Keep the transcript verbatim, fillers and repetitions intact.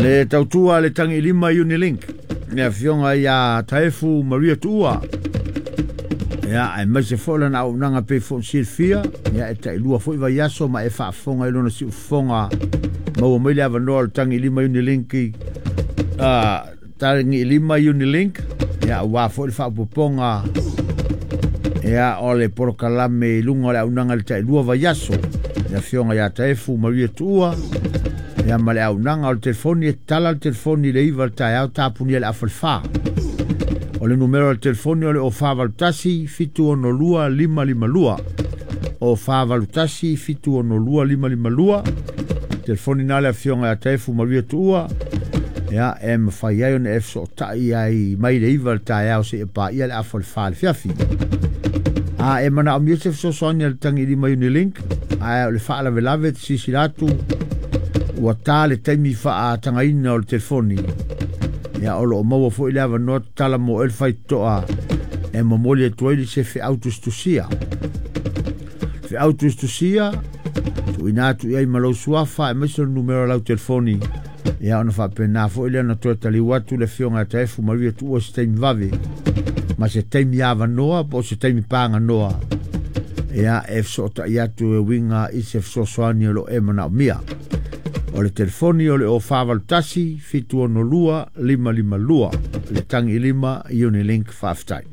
Le tautua le tagilima Unilink, le afioga ia Taefu Maria Tuua. Ia, aemaise foi lana auaunaga pei foi ona silafia, ia e tailua foi vaiaso ma e faafofoga i lona siufofoga maua mai le avanoa o le tagilima Unilink, uh, tagilima Unilink, ia aua foi le faaopoopoga ia o le polokalame i luga o le auaunaga i le tailua vaiaso, le afioga ia Taefu Maria Tuua. Ia ma le auaunaga o le telefoni e tala le telefoni i le iva le taeao tapunia le afa le fa. O le numera o le telefoni o le o fa valu tasi fitu ono lua lima lima lua. O fa valu tasi fitu ono lua lima lima lua. Telefoni na le afioga ia Taefu Maria Tuua. Ia e mafai ai ona e fesootai ai mai le iva le taeao seia paia le afa le fa le fiafi. A e manaomia se fesoasoani a le tagilima Unilink, ae o le faalavelave te silasila atu ua tā le taimi faatagaina o le telefoni. Ia o loo maua foi le avanoa tatala mo oe le faitotoa e momoli atu ai se feau tusitusia. Feau tusitusia tuuina atu i ai ma lou suafa aemaise o le numera o lau telefoni. Ia ona faapena foi lea ona toe taliu atu le afioga ia Taefu Maria Tuua se taimi vave ma se taimi avanoa po o se taimi paganoa. Ia e fesootai atu e uiga i se fesoasoani o loo e manaomia. O le telefoni o le o fa valu tasi fitu ono lua lima lima lua. Le tagilima Unilink, faafetai.